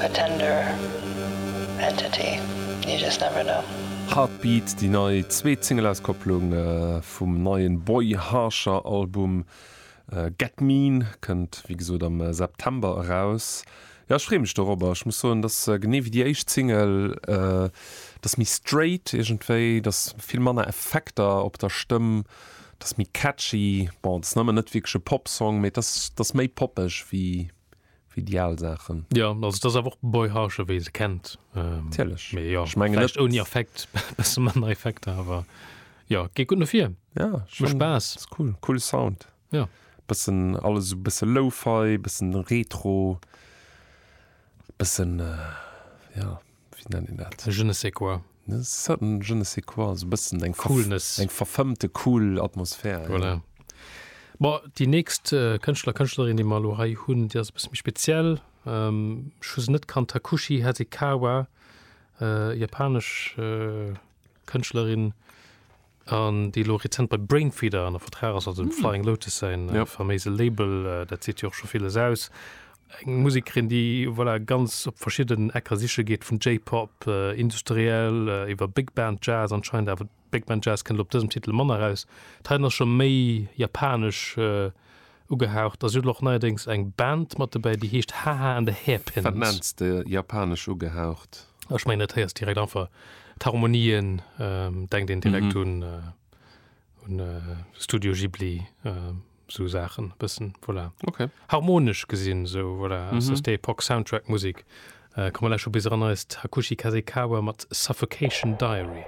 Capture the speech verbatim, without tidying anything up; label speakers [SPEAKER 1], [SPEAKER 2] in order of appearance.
[SPEAKER 1] a tender entity. You just never know.
[SPEAKER 2] Heartbeat, déi nei zweet Singleauskopplung vum neien Boy Harsher Album Get Mean, kënnt wéi gesot am September eraus. Jo, ech freeë mech dorobber. Ech muss soen, dass genee wéi déi éischt Single, dass méi straight iergendwéi, dass vill manner Effekter op der Stëmm, dass méi catchy. Bon, et ass nëmmen net wierklech e Popsong, mee et ass, et ass méi poppeg wéi wéi déi al Saachen.
[SPEAKER 3] Jo, also et ass awer och Boy Harsher, wéi ee se kennt.
[SPEAKER 2] Natierlech.
[SPEAKER 3] Mee jo,
[SPEAKER 2] Ech mengen
[SPEAKER 3] vläicht
[SPEAKER 2] net.
[SPEAKER 3] ouni Affekt, bësse manner Effekter, awer jo, geet gutt no vir.
[SPEAKER 2] Ja,
[SPEAKER 3] Mécht
[SPEAKER 2] schon,
[SPEAKER 3] Spaass.
[SPEAKER 2] ass cool, coole Sound.
[SPEAKER 3] Ja.
[SPEAKER 2] Bëssen alles esou bësse Lo-Fi, bëssen Retro, bëssen, ja, wéi nennt een dat?
[SPEAKER 3] Je ne sais quoi.
[SPEAKER 2] E certain je ne sais quoi, esou bëssen eng
[SPEAKER 3] Coolness.
[SPEAKER 2] Eng verfëmmte cool Atmosphär.
[SPEAKER 3] Voilà. Bon, déi nächst Kënschtler, Kënschtlerin, déi mer elo hei hunn, déi ass e bësse méi speziell. Ech hu se net kannt, Takushi Hasekawa, japanesch Kënschtlerin, an déi elo rezent bei Brainfeeder ënner Vertrag ass, also dem Flying Lotus säin faméise Label. Dat seet jo och scho villes aus. Eng Musekerin, déi, voilà, ganz op verschidden Ecker siche geet, vun J-Pop, industriell, iwwer Big Band Jazz anscheinend, awer Big Band Jazz kënnt op dësem Titel manner eraus. D'heiten ass scho méi japanesch ugehaucht a si huet elo och neierdéngs eng Band mat dobäi, déi heescht Haha and the Hairpins.
[SPEAKER 2] Wat nenns de japanesch ugehaucht?
[SPEAKER 3] Ech mengen dat héiers direkt einfach d'Harmonien, denkt een direkt un un Studio Ghibli. Sou Saachen e bëssen, voilà.
[SPEAKER 2] Okay.
[SPEAKER 3] Harmonesch gesinn, sou, voilà, aus der Stay-Epoch Soundtrack Musik. Komm mer lauschteren bis eran eist Hakushi Kasekawa mat Suffocation Diary.